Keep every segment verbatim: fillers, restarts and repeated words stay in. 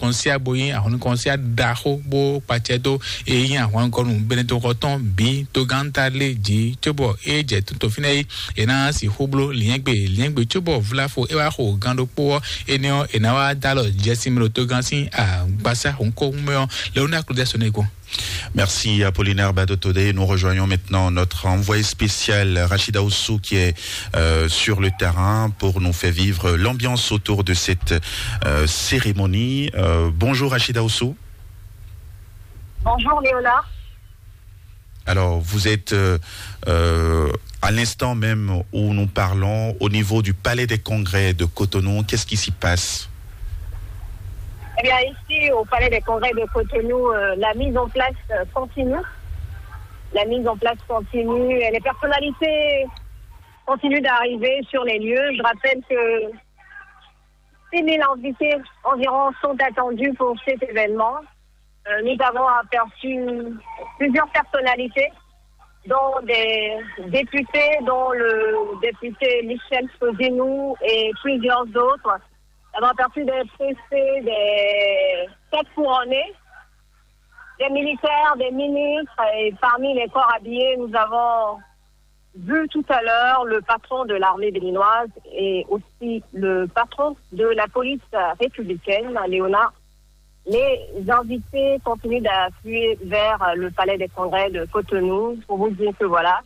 kɔnsiá bó nyí ahɔnnu kɔnsiá ɖaxó bó kpacɛ dó e nyí ahwangɔnu Benedɔxɔtɔn bǐ tógántá lé jí cóbɔ é jɛ tó fínɛ́ é, è nǎ sixú bló liɛ́ngbé liɛ́ngbé cóbɔ vláfo é wá xo gán ɖokpó ɔ́, énɛ́ ɔ́, è nǎ wá dó alɔ jɛsín mɛ ɖo tógán sín agbasá hǔnkɔ́hún mɛ ɔ́. Léonard Claude Sonegbo. Merci Apollinaire Badotode. Nous rejoignons maintenant notre envoyé spécial Rachida Oussou qui est euh, sur le terrain pour nous faire vivre l'ambiance autour de cette euh, cérémonie. Euh, bonjour Rachida Oussou. Bonjour Léonard. Alors, vous êtes euh, euh, à l'instant même où nous parlons au niveau du palais des congrès de Cotonou. Qu'est-ce qui s'y passe ? Eh bien, ici, au palais des congrès de Cotonou, euh, la mise en place euh, continue. La mise en place continue. Les personnalités continuent d'arriver sur les lieux. Je rappelle que six mille invités environ sont attendus pour cet événement. Euh, nous avons aperçu plusieurs personnalités, dont des députés, dont le député Michel Fodinou et plusieurs autres. Nous avons aperçu des préfets, des têtes couronnées, des militaires, des ministres, et parmi les corps habillés, nous avons vu tout à l'heure le patron de l'armée béninoise et aussi le patron de la police républicaine, Léonard. Les invités continuent d'affluer vers le palais des congrès de Cotonou pour vous dire que voilà,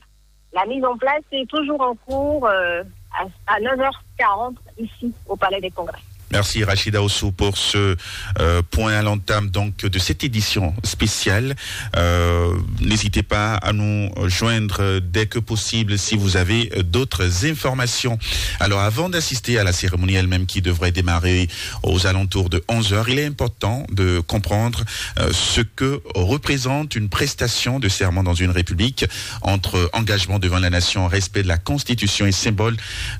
la mise en place est toujours en cours euh, à, à neuf heures quarante ici au palais des congrès. Merci Rachida Oussou pour ce euh, point à l'entame donc de cette édition spéciale. Euh, n'hésitez pas à nous joindre dès que possible si vous avez euh, d'autres informations. Alors avant d'assister à la cérémonie elle-même qui devrait démarrer aux alentours de onze heures, il est important de comprendre euh, ce que représente une prestation de serment dans une république entre engagement devant la nation, respect de la constitution et symbole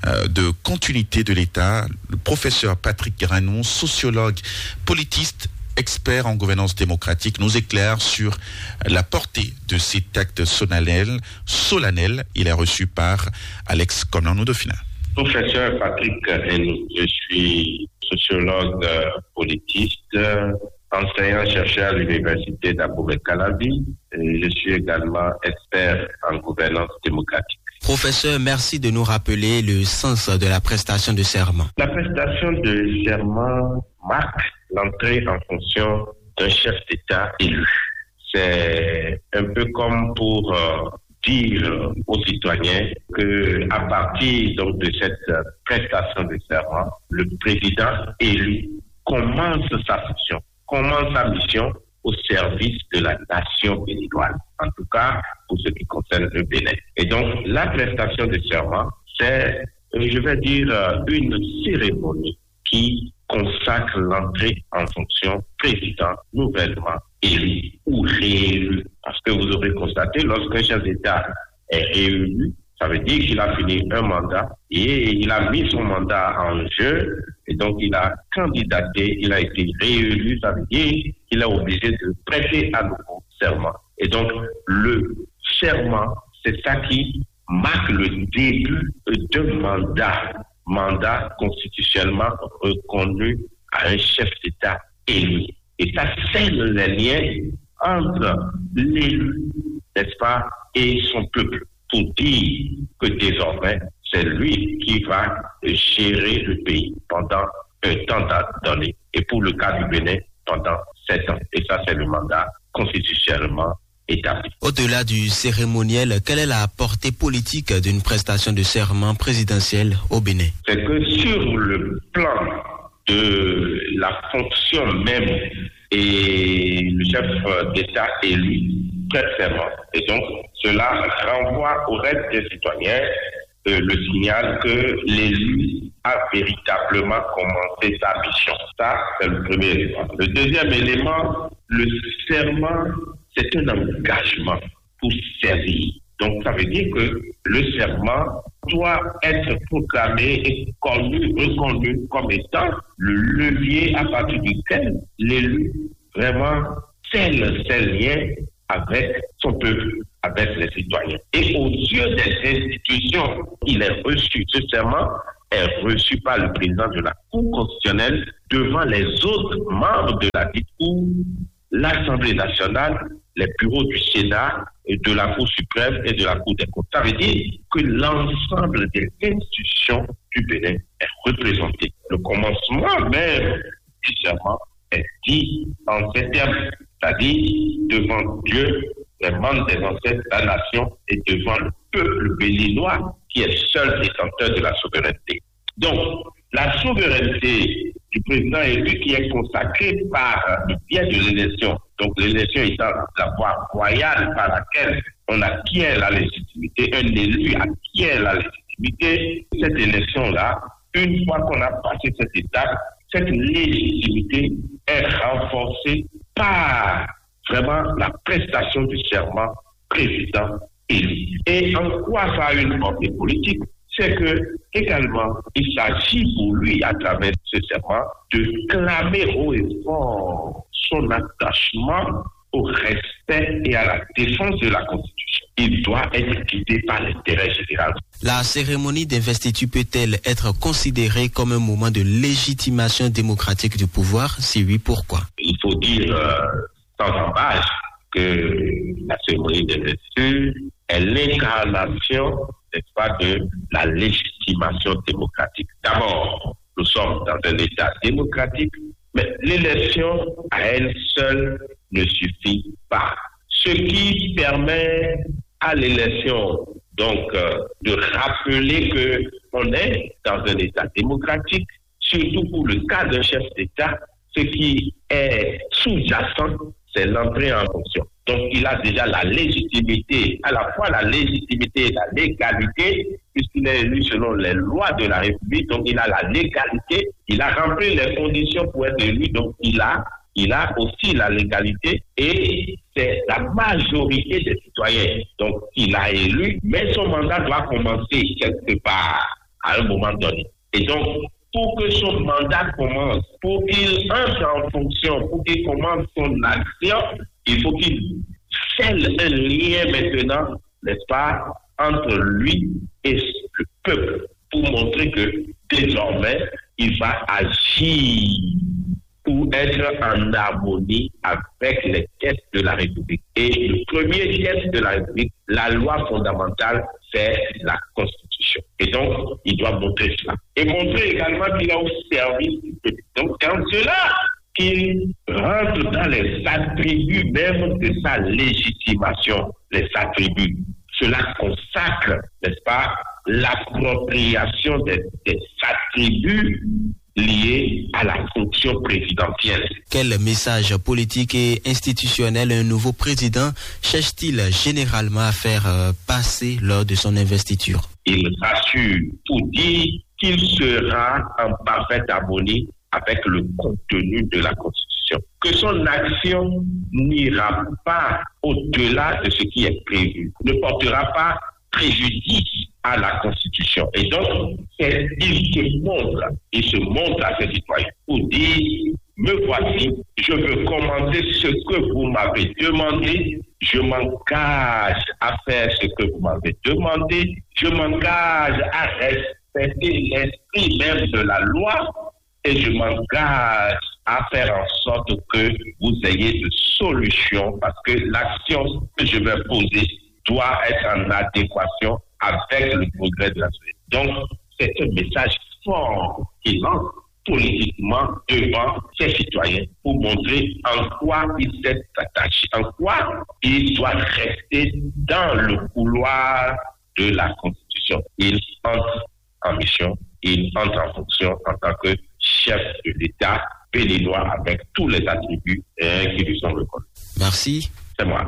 euh, de continuité de l'État. Le professeur Patrick Granon, sociologue, politiste, expert en gouvernance démocratique, nous éclaire sur la portée de cet acte solennel. Solennel. Il est reçu par Alex Komlanou Dauphin. Professeur Patrick Granon, je suis sociologue, euh, politiste, euh, enseignant-chercheur à l'université d'Aboubakar Calavi. Je suis également expert en gouvernance démocratique. Professeur, merci de nous rappeler le sens de la prestation de serment. La prestation de serment marque l'entrée en fonction d'un chef d'État élu. C'est un peu comme pour euh, dire aux citoyens que à partir donc de cette prestation de serment, le président élu commence sa fonction, commence sa mission au service de la nation béninoise, en tout cas pour ce qui concerne le Bénin. Et donc, la prestation de serment, c'est, euh, je vais dire, euh, une cérémonie qui consacre l'entrée en fonction président nouvellement élu ou réélu. Parce que vous aurez constaté, lorsqu'un chef d'État est réélu, ça veut dire qu'il a fini un mandat et il a mis son mandat en jeu et donc il a candidaté, il a été réélu, ça veut dire qu'il est obligé de prêter à nouveau serment. Et donc le serment, c'est ça qui marque le début d'un mandat, mandat constitutionnellement reconnu à un chef d'État élu. Et ça scelle les liens entre l'élu, n'est-ce pas, et son peuple, pour dire que désormais, c'est lui qui va gérer le pays pendant un temps donné, et pour le cas du Bénin, pendant sept ans. Et ça, c'est le mandat constitutionnellement établi. Au-delà du cérémoniel, quelle est la portée politique d'une prestation de serment présidentielle au Bénin ? C'est que sur le plan de la fonction même, et le chef d'État élu prête serment. Et donc, cela renvoie au reste des citoyens euh, le signal que l'élu a véritablement commencé sa mission. Ça, c'est le premier élément. Le deuxième élément, le serment, c'est un engagement pour servir. Donc, ça veut dire que le serment doit être proclamé et connu, reconnu comme étant le levier à partir duquel l'élu vraiment scelle ses liens avec son peuple, avec les citoyens. Et aux yeux des institutions, il est reçu ce serment est reçu par le président de la Cour constitutionnelle devant les autres membres de la dite Cour, l'Assemblée nationale, les bureaux du Sénat, et de la Cour suprême et de la Cour des comptes. Ça veut dire que l'ensemble des institutions du Bénin est représenté. Le commencement même du serment est dit en ces termes, c'est-à-dire devant Dieu, les membres des ancêtres de la nation et devant le peuple béninois qui est seul détenteur de la souveraineté. Donc, la souveraineté du président élu qui est consacrée par le biais de l'élection, donc l'élection étant la voie royale par laquelle on acquiert la légitimité, un élu acquiert la légitimité, cette élection-là, une fois qu'on a passé cette étape, cette légitimité est renforcée par vraiment la prestation du serment président élu. Et en quoi ça a une portée politique? C'est que, également, il s'agit pour lui, à travers ce serment, de clamer haut et fort son attachement au respect et à la défense de la Constitution. Il doit être guidé par l'intérêt général. La cérémonie d'investiture peut-elle être considérée comme un moment de légitimation démocratique du pouvoir? Si oui, pourquoi? Il faut dire euh, sans embâche que la cérémonie d'investiture est l'incarnation, n'est-ce pas, de la légitimation démocratique. D'abord, nous sommes dans un État démocratique, mais l'élection à elle seule ne suffit pas. Ce qui permet à l'élection, donc, euh, de rappeler que on est dans un État démocratique, surtout pour le cas d'un chef d'État, ce qui est sous-jacent, c'est l'entrée en fonction. Donc, il a déjà la légitimité, à la fois la légitimité et la légalité, puisqu'il est élu selon les lois de la République, donc il a la légalité, il a rempli les conditions pour être élu, donc il a, il a aussi la légalité et c'est la majorité des citoyens. Donc, il a élu, mais son mandat doit commencer quelque part à un moment donné. Et donc, pour que son mandat commence, pour qu'il entre en fonction, pour qu'il commence son action, il faut qu'il scelle un lien maintenant, n'est-ce pas, entre lui et le peuple, pour montrer que désormais, il va agir pour être en harmonie avec les textes de la République. Et le premier texte de la République, la loi fondamentale, c'est la Constitution. Et donc, il doit montrer cela. Et montrer également qu'il est au service du peuple. Donc, dans cela, qu'il rentre dans les attributs même de sa légitimation, les attributs. Cela consacre, n'est-ce pas, l'appropriation des, des attributs liés à la fonction présidentielle. Quel message politique et institutionnel un nouveau président cherche-t-il généralement à faire euh, passer lors de son investiture? Il rassure pour dire qu'il sera en parfaite harmonie avec le contenu de la Constitution. Que son action n'ira pas au-delà de ce qui est prévu, ne portera pas préjudice à la Constitution. Et donc, c'est, il se montre, il se montre à ses citoyens pour dire, me voici, je veux commenter ce que vous m'avez demandé, je m'engage à faire ce que vous m'avez demandé, je m'engage à respecter l'esprit même de la loi et je m'engage à faire en sorte que vous ayez de solutions parce que l'action que je vais poser doit être en adéquation avec le progrès de la société. Donc, c'est un message fort qu'il lance politiquement devant ses citoyens pour montrer en quoi il s'est attaché, en quoi il doit rester dans le couloir de la Constitution. Il entre en mission, il entre en fonction en tant que chef de l'État béninois avec tous les attributs euh, qui lui sont reconnus. Merci. C'est moi.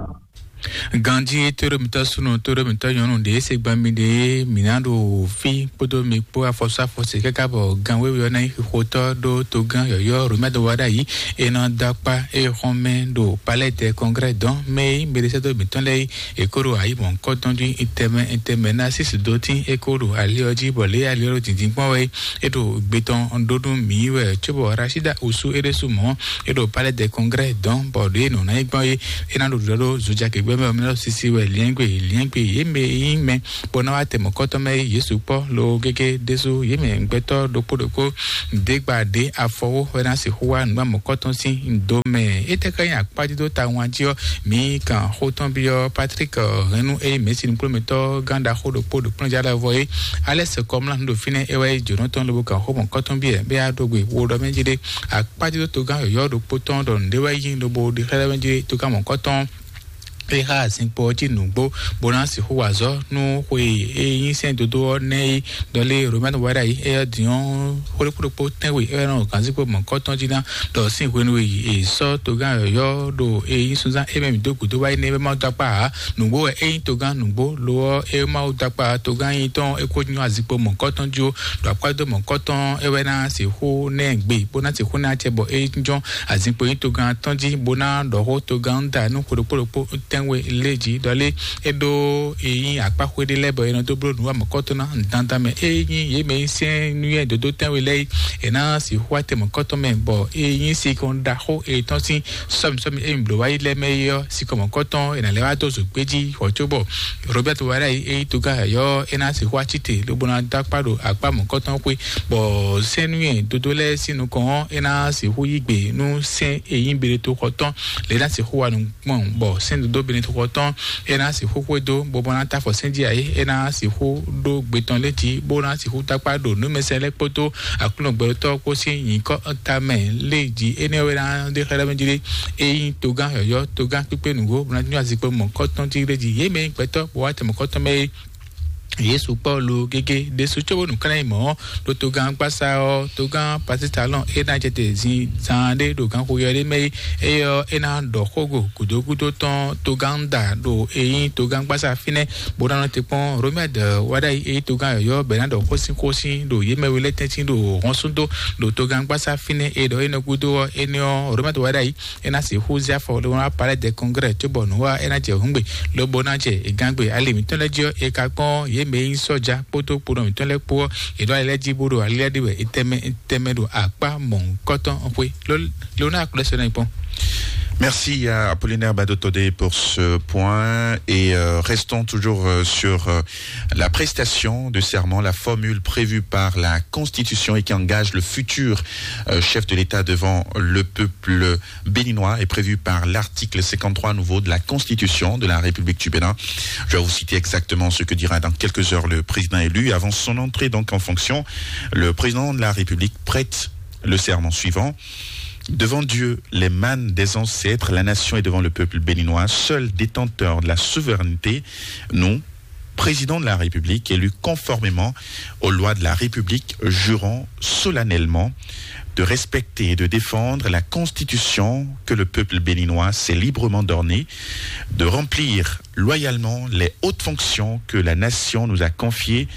Ganji tóɖómitɔ súnnu tóɖómitɔ nyɔnu ɖe se gbɔn mi ɖe mi ná ɖo fi kpódó mi kpó afɔsú afɔsí káká bɔ gan wéwé ɔ́ ná nyí xixotɔ ɖó togán yɔyɔ́ romɛdo wa ɖ'ayǐ e nɔ dó akpá e xɔn mɛ ɖo palais de congrès dɔn mɛ e nyí mɛɖesɛ́dó mǐtɔn lɛ́ɛ é kó ɖo ayǐ mɔ̌hunkɔtɔn jí tɛnmɛ tɛnmɛ ná sísǐ dó tín é kó ɖo ali ɔ́ jí bɔ lě ali ɔ́ ɖo dǐndín kpɔ́n wɛ é ɖo gbe tɔn ɖó nú mǐ wɛ cóbɔ rashida osu é ɖésú mɔ̌ é ɖo palais de congrès dɔn bɔ ɖě nɔ ná nyí gbɔn é é ná ɖo ɖiɖɔ ɖó zojakegbé Mɛ ɔ́, mɛ lɔ sisi wɛ liɛ́ngbe liɛ́ngbe yě mɛ e nyí mɛ bó ná wá tɛ mɔ̌kɔtɔn mɛ yě sukpɔ́ lo gégé ɖésú yě mɛ gbɛtɔ́ ɖokpó ɖokpó. Dě gba ɖě afɔwó wɛ ná sixú wá nǔgbá mɔ̌kɔtɔn sín do mɛ. Étɛ́ ká nyí akpájídó tawun jí ɔ́, mǐ kan xó tɔn byɔ́ Patrick Hɛnnu e nyí mɛ̌si nukplɔ́nmɛtɔ́ gán ɖaxó ɖokpó ɖo kplɔ́njálɔ́vɔ é. Alɛ́ sɛkɔmlá nǔ ɖo fínɛ́ é wɛ nyí jǒnɔ tɔn lobo kan xó mɔ̌kɔtɔn byɔ́ ɛ bɛ́ yá ɖó gbe wo ɖɔ mɛ jí ɖé. Akpájídó togán yɔ̌yɔ́ ɖokpó tɔn ɖɔ nǔɖé wɛ nyí lobo ɖe xlɛ́ mɛ jí ɖé togán mɔ̌kɔtɔn e xa azinkpo ɔ́ jí nǔgbó bó ná sixú wa azɔ̌ nú xwe e nyí sɛ́n dodó ɔ́ nɛ́ é. Dɔlé Romɛnu wɛ ɖ'ayǐ é ɔ́ din ɔ́, xwé ɖokpó ɖokpó tɛ́nwe é wɛ nɔ gǎnzíkpo mɔ̌kɔtɔn jí ná ɖɔ sín hwenu e è sɔ́ togán yɔ̌yɔ́ ɖo e nyí sunzán é mɛ mǐ dó gǔdo wá é nɛ́ é wɛ Mawu dó akpá ǎ. Nǔgbó wɛ é nyí togán nǔgbó lo ɔ́ é Mawu dó akpá togán nyí tɔn é kó nyɔ́ azinkpo mɔ̌kɔtɔn jí ó. Ɖo akpá dó mɔ̌kɔtɔn é wɛ ná sixú nɛ́ gbe bó ná sixú ná acɛ bɔ é jínjɔ́n azinkpo nyí togán tɔn jí bó ná ɖɔ xó togán da nú xwe ɖokpó ɖokpó tɛ́nwe lé jí ɖɔ lé é ɖó e nyí akpáxwé ɖé lɛ́ɛ bɔ è nɔ dó bló nǔ wa mɔ̌kɔtɔn ná dandan mɛ é nyí yě mɛ nyí sɛ́n nú yɛ dodó tɛ́nwe lɛ́ɛ é. È ná sixú wá tɛ mɔ̌kɔtɔn mɛ bɔ é nyí sikɔn ɖaxó e tɔn sín sɔ́mi sɔ́mi e mǐ bló wá yi lɛ́ɛ mɛ é ɔ́ sikɔn mɔ̌kɔtɔn è nǎ lɛ́ wá dó zǒgbé jí hɔ̌ cóbɔ Robert Wara yi é nyí togán yɔ̌yɔ́ é ná sixú wá cí te lobo ná dó akpá ɖo akpá mɔ̌kɔtɔn xwé bɔ sɛ́n nú yɛ dodó lɛ́ɛ sín nukɔn ɔ́ é ná sixú yí gbe nú sɛ́n e nyí Benetoxɔ tɔn lě ná sixú wa nǔ gbɔn bɔ sɛ́n dodó Benetoxɔ tɔn é ná sixú xwedó bó bó ná ta afɔ sɛ́n jí ayé é ná sixú ɖó gbe tɔn lé jí bó ná sixú takpá ɖo nǔmɛsɛn lɛ́ɛ kpódó Aklúnɔ gbɛɖotɔ́ kpó sín nyǐkɔ ta mɛ lé jí énɛ́ wɛ ná ɖe xlɛ́ mɛ jí ɖé. É nyí togán yɔ̌yɔ́ togán kpíkpé nǔgbó bó ná nyɔ́ azikpo mɔ̌kɔtɔn jí ɖé jí yě mɛ nyí gbɛtɔ́ bó wá tɛ mɔ̌kɔtɔn mɛ é. Yesu Pɔ́lu gégé ɖésú cóbónú kɛ́nɛ yi mɔ̌ ɖo togán gbásá ɔ́ togán pasítalɔn é ná jɛ te zin zaan ɖé ɖo gánxoyɔ ɖé mɛ é. Éyɔ́ é ná ɖɔ xógo gǔdógúdó tɔn togán da ɖo é nyí togán gbásá fínɛ́ bó ná nɔ te kpɔ́n Romɛd wáɖá yi é nyí togán yɔ̌yɔ́ bɛ̌ ná ɖɔ xósín xósín ɖo yě mɛ we lɛ́ɛ tɛ́ntin ɖo hɔn súdó ɖo togán gbásá fínɛ́ é ɖɔ é nɔ gúdo ɔ́ énɛ́ ɔ́ Romɛd wáɖá yi é ná sixú zé afɔ lobo ná palais de congrès cóbɔ nǔ wa é ná jɛ hǔngbe lobo ná jɛ gangbe ali mǐtɔn lɛ́ɛ jí ɔ́ é ka kpɔ́n yě mɛ e nyí sɔ́ja kpódó kponɔ mǐtɔn lɛ́ɛ kpó ɔ́ è ɖó ali lɛ́ɛ jí bó ɖo ali lɛ́ɛ ɖi wɛ é tɛmɛ tɛmɛ ɖo akpá mɔ̌hunkɔtɔn xwé ló ló ná aklúlɛ́ sɔ́ ná nyí kpɔ́n. Merci à Apollinaire Badotodé pour ce point et euh, restons toujours euh, sur euh, la prestation de serment, la formule prévue par la Constitution et qui engage le futur euh, chef de l'État devant le peuple béninois est prévue par l'article cinquante-trois nouveau de la Constitution de la République du Bénin. Je vais vous citer exactement ce que dira dans quelques heures le président élu. Avant son entrée donc en fonction, le président de la République prête le serment suivant. Devant Dieu, les mânes des ancêtres, la nation et devant le peuple béninois, seul détenteur de la souveraineté, nous, président de la République, élu conformément aux lois de la République, jurons solennellement de respecter et de défendre la Constitution que le peuple béninois s'est librement donnée, de remplir loyalement les hautes fonctions que la nation nous a confiées,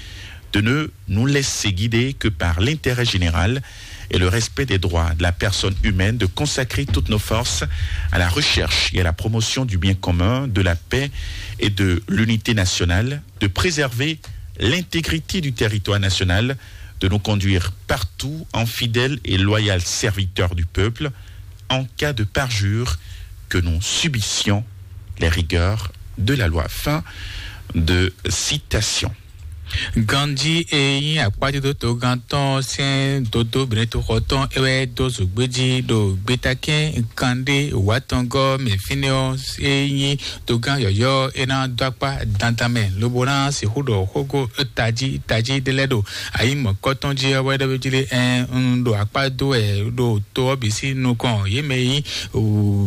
de ne nous laisser guider que par l'intérêt général et le respect des droits de la personne humaine, de consacrer toutes nos forces à la recherche et à la promotion du bien commun, de la paix et de l'unité nationale, de préserver l'intégrité du territoire national, de nous conduire partout en fidèles et loyaux serviteurs du peuple, en cas de parjure que nous subissions les rigueurs de la loi. Fin de citation. Ganjí e nyí akpájúdó togán tɔn sɛn dodó Benetoxɔ tɔn é wɛ dó zǒgbéjí ɖo gbétakɛn kanɖé wǎtɔngɔ́ mɛ fínɛ́ ɔ́ é nyí togán yɔ̌yɔ́ é ná dó akpá dandan mɛ lobo ná sixú ɖɔ xógó tají tají ɖé lɛ́ɛ ɖo ayǐ mɔ̌kɔtɔn jí ɔ́ wɛ ɖɔ jí ɖé ɛn un ɖo akpá dó wɛ ɖo to ɔ́ bǐ sín nukɔn yě mɛ e nyí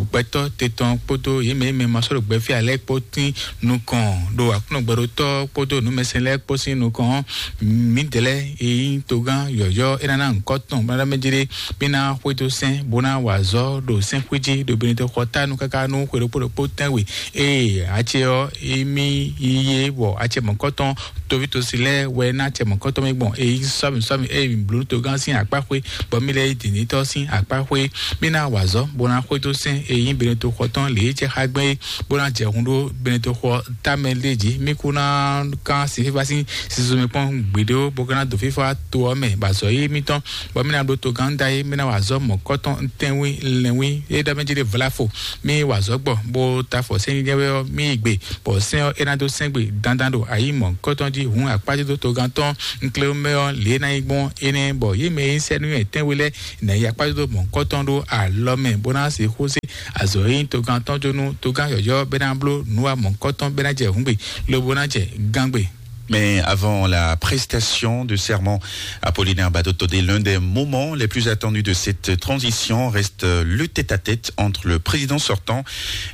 gbɛtɔ́ te tɔn kpódó yě mɛ e mɛ ma sɔ́ ɖo gbɛfí alɛ kpó tín nukɔn ɖo aklúnɔgbɛɖotɔ́ kpódó nǔmɛsɛn lɛ́ɛ kpó sín nukɔn ɔ́, mǐdɛɛ lɛ́ɛ e nyí togán yɔ̌yɔ́ é ná ná nyǐkɔ tɔn bó ná ɖɔ mɛ jí ɖé mí ná xwedó sɛ́n bó ná wa azɔ̌ ɖo sɛ́nxwé jí ɖo benɔtɔ́ xɔ tánu káká nú xwe ɖokpó ɖokpó tɛ́nwe ée acɛ ɔ́ émí yí é bɔ acɛ mɔ̌kɔtɔn Toví tosi lɛ́ɛ wɛ ná acɛ mɔ̌kɔtɔn mì gbɔn, e nyí sɔ́mi sɔ́mi e mì bló togán sín akpáxwé, bɔ mì lɛ́ yí dǐndítɔ́ sín akpáxwé. Mì ná wa azɔ̌ bó ná xwedó sɛ́n e nyí Benito xɔ tɔn lě e jɛ xá gbɛn é, bó ná jɛ hun ɖó Benito xɔ támɛ lé jí. Mì kú ná kán sin fífá sín sizo mì kpɔ́n gbeɖé ó, bó ka ná dó fífá to ɔ́ mɛ, bɔ azɔ̌ yí mítɔn, bɔ mì ná ɖó togán da é, mì ná wa azɔ̌ mɔ̌kɔtɔn tɛ́nwí lɛ́nwí e ɖɔ mɛ jí ɖe vlafo. Mì wa azɔ̌ gbɔ, bó ta afɔ sɛ́n nyínyɛ́ wɛ ɔ́, mì yi gbe, bɔ sɛ́n ɔ́ é ná dó sɛ́n gbe dandan ɖo ayi mɔ̌kɔtɔn jí. Hǔn akpájúdó togán tɔn un klé mɛ ɔ́ lě ná nyí gbɔn énɛ́, bɔ yě mɛ e nyí sɛ́númɛ tɛ́nwe lɛ́ɛ ná yi akpájúdó mɔ̌kɔtɔn ɖó alɔ mɛ, bó ná sixú zé azɔ̌ e nyí togán tɔn jó nú togán yɔ̌yɔ́ bɛ́ ná bló nǔwa mɔ̌kɔtɔn bɛ́ ná jɛ hǔngbe, lobo ná jɛ gángbe. Mais avant la prestation de serment, Apollinaire Badotodé, l'un des moments les plus attendus de cette transition reste le tête-à-tête entre le président sortant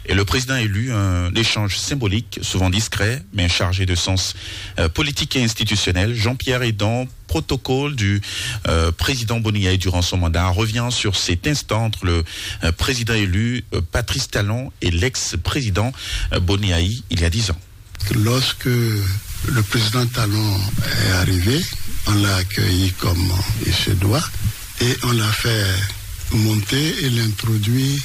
et le président élu, un échange symbolique, souvent discret, mais chargé de sens euh, politique et institutionnel. Jean-Pierre Edan, protocole du euh, président Boni Yayi durant son mandat, revient sur cet instant entre le euh, président élu euh, Patrice Talon et l'ex-président euh, Boni Yayi il y a dix ans. Lorsque le président Talon est arrivé, on l'a accueilli comme il se doit et on l'a fait monter et l'introduit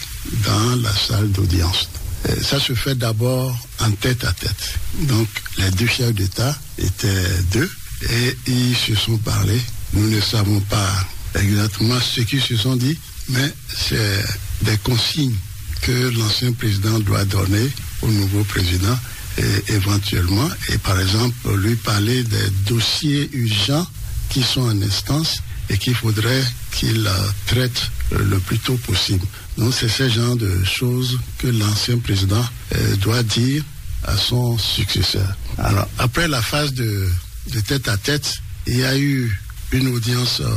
dans la salle d'audience. Euh, ça se fait d'abord en tête à tête. Donc, les deux chefs d'État étaient deux et ils se sont parlé. Nous ne savons pas exactement ce qu'ils se sont dit, mais c'est des consignes que l'ancien président doit donner au nouveau président et éventuellement, et par exemple, lui parler des dossiers urgents qui sont en instance et qu'il faudrait qu'il euh, traite le plus tôt possible. Donc, c'est ce genre de choses que l'ancien président euh, doit dire à son successeur. Alors, après la phase de, de tête à tête, il y a eu une audience euh,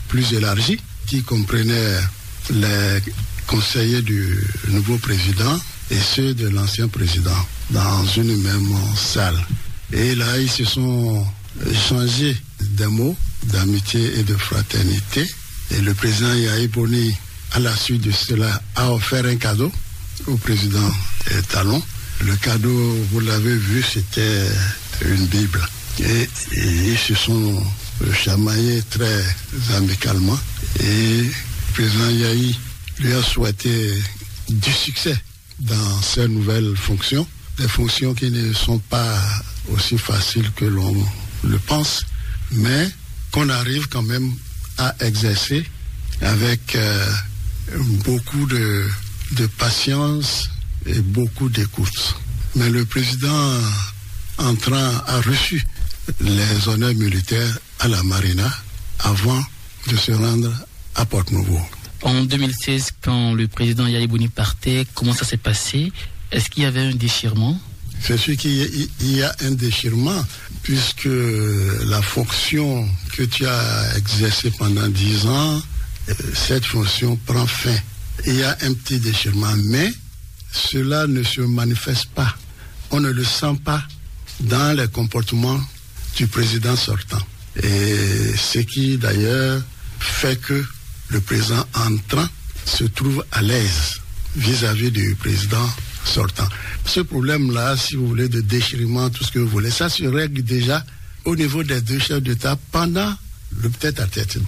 plus élargie qui comprenait les conseillers du nouveau président et ceux de l'ancien président dans une même salle. Et là, ils se sont échangés des mots d'amitié et de fraternité. Et le président Yahi Boni, à la suite de cela, a offert un cadeau au président euh, Talon. Le cadeau, vous l'avez vu, c'était une Bible. Et, et ils se sont euh, chamaillés très amicalement. Et le président Yahi lui a souhaité du succès dans ses nouvelles fonctions, des fonctions qui ne sont pas aussi faciles que l'on le pense, mais qu'on arrive quand même à exercer avec euh, beaucoup de, de patience et beaucoup d'écoute. Mais le président entrant a reçu les honneurs militaires à la Marina avant de se rendre à Porto Novo. En deux mille seize, quand le président Yahi Boni partait, comment ça s'est passé? Est-ce qu'il y avait un déchirement? C'est sûr qu'il y a- il y a un déchirement, puisque la fonction que tu as exercée pendant dix ans, euh, cette fonction prend fin. Il y a un petit déchirement, mais cela ne se manifeste pas. On ne le sent pas dans les comportements du président sortant. Et ce qui d'ailleurs fait que le président entrant se trouve à l'aise vis-à-vis du président sortant. Ce problème-là, si vous voulez, de déchirement, tout ce que vous voulez, ça se règle déjà au niveau des deux chefs d'État pendant le tête-à-tête.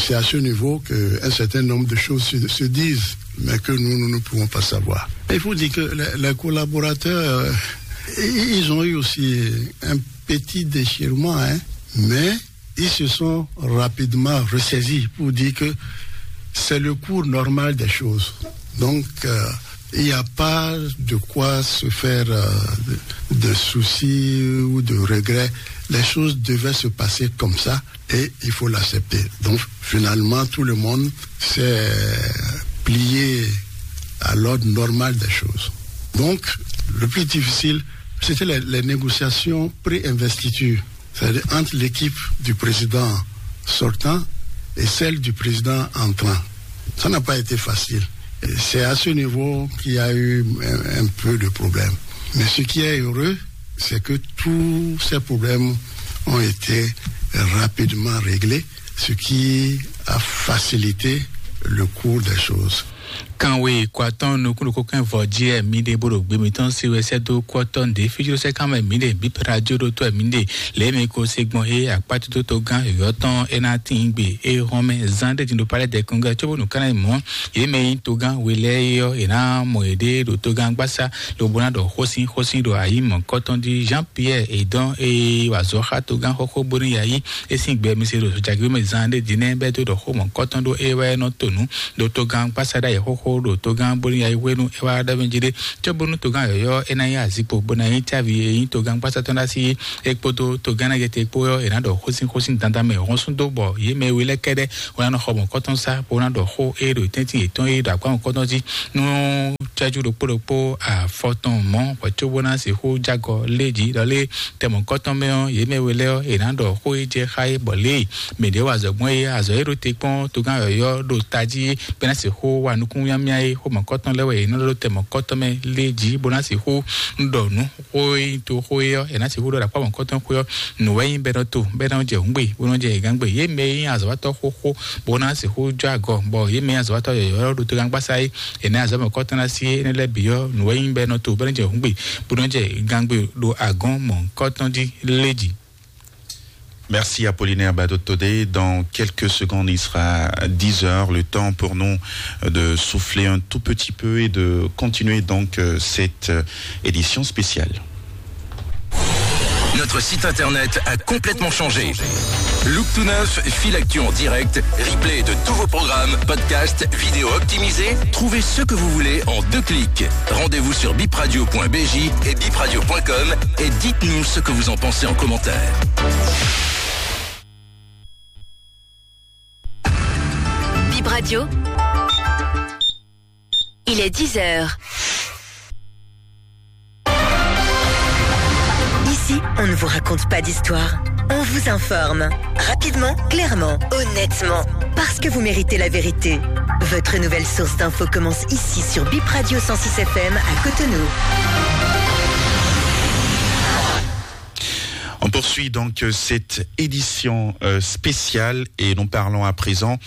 C'est à ce niveau qu'un certain nombre de choses se, se disent, mais que nous, nous ne pouvons pas savoir. Il faut dire que les, les collaborateurs, euh, ils ont eu aussi un petit déchirement, hein, mais ils se sont rapidement ressaisis pour dire que c'est le cours normal des choses. Donc, euh, il n'y a pas de quoi se faire euh, de soucis ou de regrets. Les choses devaient se passer comme ça et il faut l'accepter. Donc, finalement, tout le monde s'est plié à l'ordre normal des choses. Donc, le plus difficile, c'était les, les négociations pré-investiture, c'est-à-dire entre l'équipe du président sortant et celle du président entrant. Ça n'a pas été facile. Et c'est à ce niveau qu'il y a eu un, un peu de problèmes. Mais ce qui est heureux, c'est que tous ces problèmes ont été rapidement réglés, ce qui a facilité le cours des choses. Kanwe kɔ atɔn nukúnnukún kɛn vɔ jí ɛ mi ɖe bó ɖo gbe mitɔn si wɛ sɛ́ dó kú ɔtɔ́ nɖě fíjló sɛ́ kán mɛ mi ɖe bí pradio ɖó tó ɛ mi ɖe lě mi ko se gbɔn é akpátótó gán yɔ̌yɔ́ tɔn é ná tín gbe é hɔn mɛ zán ɖé din ɖo palɛ dɛkun gɛ cóbó nǔ kánná mɔ̌ yě mɛ nyí togán we lɛ́ɛ é ɔ́ è nǎ mɔ yěɖée ɖo togán gbásá lobo ná ɖɔ xósin xósin ɖo ayǐ mɔ̌kɔtɔn jí. Jean Pierre è dɔn é wa azɔ̌ xá togán xóxó bónú ya yí é sín gbɛ mi se ɖo jagbe mɛ zán ɖé din nɛ́ bɛ́ dó ɖɔ xó mɔ̌kɔtɔn ɖó é wɛ nɔ to nǔ ɖo togán gbásá ɖ'ayǐ xóxó ɖo togán bónú ya yí hwenu é wá ɖɔ mɛ jí ɖé cóbónú togán yɔ̌yɔ́ é ná nyí azikpo bó ná nyí cávi e nyí togán gbásá tɔn ɖ'así é kpódó togán ná yɛtɛ kpó ɔ́ è nǎ ɖɔ xósin xósin dandan mɛ hɔn sún dó bɔ yě mɛ we lɛ́ kɛ́ɖɛ́ wó ná nɔ xɔ mɔ̌kɔtɔn sá bó ná ɖɔ xó é ɖo tɛ́ntin yětɔn é ɖo akwámɔ̌kɔtɔn jí nú cɛ́jú ɖokpó ɖokpó afɔ tɔn mɔ̌ hwɛ̌ cóbó ná sixú jágɔ lé jí ɖɔ lé tɛ mɔ̌kɔtɔn mɛ ɔ́ yě mɛ we lɛ́ɛ ɔ́ è nǎ ɖɔ xó e jɛ xá é bɔ lě e mɛ ɖě wa azɔ̌ gbɔn é azɔ̌ é ɖo te kpɔ́n togán yɔ̌yɔ́ ɖo tají bɛ́ ná sixú wa nukúnmyámyá é xó mɔ̌kɔtɔn lɛ́ɛ wɛ è nɔ ɖɔ ɖó tɛ mɔ̌kɔtɔn mɛ lé jí bó ná sixú ɖɔ nǔ xó e nyí to xó é ɔ́ è nǎ sixú ɖɔ ɖo akpá mɔ̌kɔtɔn xó é ɔ́ nǔ wɛ nyí bɛ́ nɔ to bɛ́ nɔ jɛ hǔngbe bó nɔ jɛ gǎngbe yě mɛ e nyí azɔ̌watɔ́ xóxó bó ná sixú jó agɔ bɔ yě mɛ e nyí azɔ̌watɔ́ yɔ̌yɔ́ ɖo togán gbásá é è nǎ azɔ̌ mɔ̌kɔtɔn ná sí énɛ́ lɛ́ɛ bǐ ɔ́ nǔ wɛ nyí bɛ́ nɔ to bɛ́ nɔ jɛ hǔngbe bó nɔ jɛ gǎngbe ɖo agɔ̌n mɔ̌kɔtɔn jí lé jí. Merci Apollinaire Badotodé. Dans quelques secondes, il sera dix heures. Le temps pour nous de souffler un tout petit peu et de continuer donc euh, cette euh, édition spéciale. Notre site internet a complètement changé. Look to neuf, fil actu en direct, replay de tous vos programmes, podcasts, vidéos optimisées. Trouvez ce que vous voulez en deux clics. Rendez-vous sur bipradio point b j et bipradio point com et dites-nous ce que vous en pensez en commentaire. Bip Radio, il est dix heures. Ici, on ne vous raconte pas d'histoire. On vous informe. Rapidement, clairement, honnêtement. Parce que vous méritez la vérité. Votre nouvelle source d'infos commence ici sur Bip Radio cent six F M à Cotonou. On poursuit donc euh, cette édition euh, spéciale et nous parlons à présent